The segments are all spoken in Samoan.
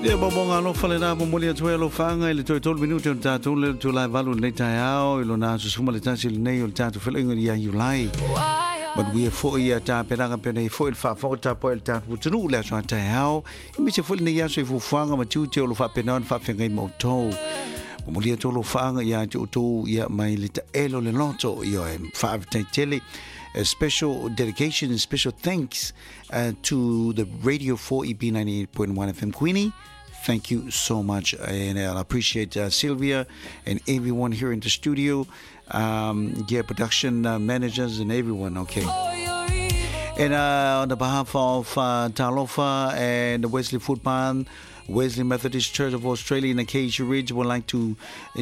Ia momoga alofa lena momoli atu ai alofaaga i le toe tolu minute o le tatou le itula e valu i lenei taeao i lona aso 11 lenei o le tatou feiloaiga ia Iulai. Manuia foi ia tapenaga pea nei foi le faafofoga tapuai a le tatou atunuu le aso a taeao aemaise foi lenei aso i fuafuaga ma tiute o lo o faapena ona faafeagai ma outou. Momoli atu alofaaga ia te outou ia mai le taelo o le loto, ioe, faafetai tele. A special dedication and special thanks to the Radio 4EB 98.1 FM Queenie. Thank you so much, and I appreciate Sylvia and everyone here in the studio, yeah, production managers and everyone. Okay. And on the behalf of Talofa and the Wesley Foodbarn, Wesley Methodist Church of Australia in Acacia Ridge, would like to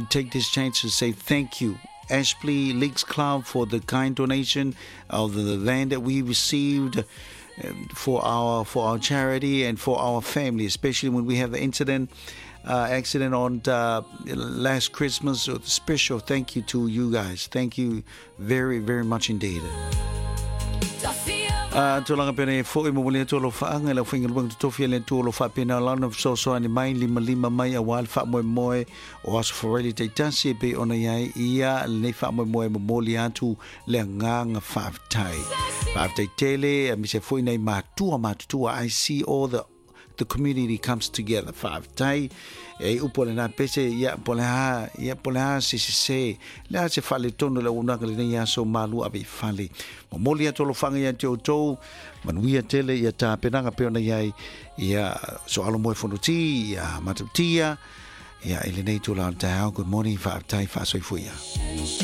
take this chance to say thank you Aspley Leagues Club for the kind donation of the land that we received for our for our charity and for our family, especially when we have the incident accident on last Christmas. So special thank you to you guys. Thank you very very much indeed. A tulaga pea e fo'i momoli atu alofaaga i le aufaigaluega totofi a le Atua o lo o faapena lana fesoasoani mai limalima mai auā le faamoemoe o aso faraile taitasi e pei ona i ai ia lenei faamoemoe e momoli atu le agaga faafetai. Faafetai tele, aemaise foi nai matua matutua. I see all the community comes together. Faafetai. E upu o lena pese, ia, po o le a, ia, po o le a se sese, le a se faaletonu o le auaunaga i lenei aso malu ave i fale. Momoli atu alofaga ia te outou, manuia tele ia tapenaga pei ona i ai, ia, soalo moe fonoti, ia matautia, ia, i lenei itula o le taeao. Good morning, faafetai, faasoifua ia.